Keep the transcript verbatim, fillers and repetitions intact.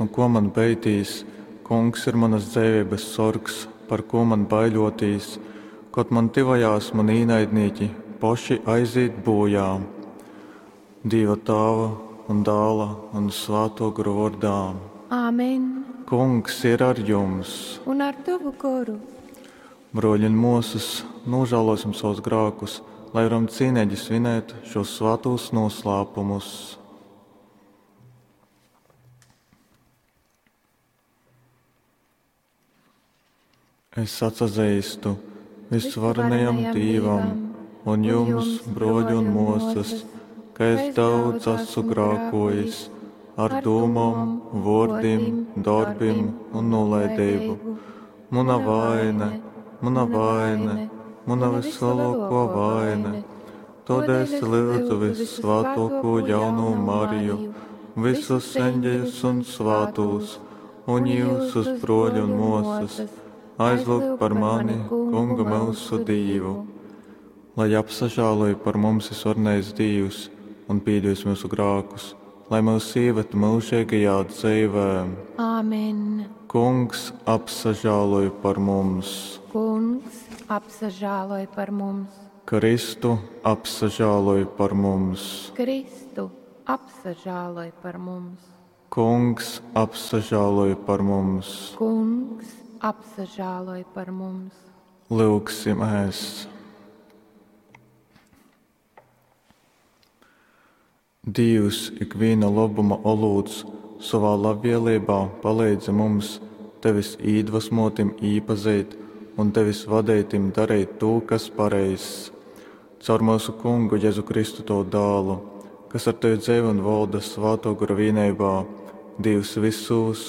nu kuo man beitīs, Kungs ir munas dzeiveibas sorgs, par kū man baiļuotīs? Kod man tyvojās muni īnaidnīki, poši aizīt būjā. Dīva Tāva un Dāla un Svātuo Gora vuordā. Āmen. Kungs ir ar jums! Un ar tovu goru. Bruoļi un muosys, nožēlosim savus grākus, lai varam cīnīgi svinēt šos svātos noslēpumus. Es atsazīstu visvarenajam Dīvam un jums, bruoļi un muosys, ka es daudz esmu grākojis ar dūmom, vuordim, dorbim un nolaidību. Muna vaine, muna vaine, muna vislielāko vaine. Todēļ es lūdzu vissvātāko jaunu Mariju, visus eņģeļus un svātos, un jūsus bruoļi un muosas, aizlūgt par mani, Kungu mūsu Dīvu. Lai apsažāloja par mums visvarenais Dīvs un piedos mūsu grākus, lai mūs ieved mūžīgajā dzīvē. Āmen. Kungs apsažāloja par mums. Kungs apsažāloj par mums. Kristu apsažāloj par mums. Kristu apsažāloj par mums. Kungs apsažāloj par mums. Kungs apsažāloj par mums. Lūgsimies! Dievs, ikviena labuma olūts, savā labvēlībā palīdzi mums, tevis īdvesmotim īpazīt un tevis vadītim darīt to, kas pareizs. Caur mūsu kungu Jēzu Kristu to dālu, kas ar tevi dzīvo un valda svāto gara vienībā, Dievs visos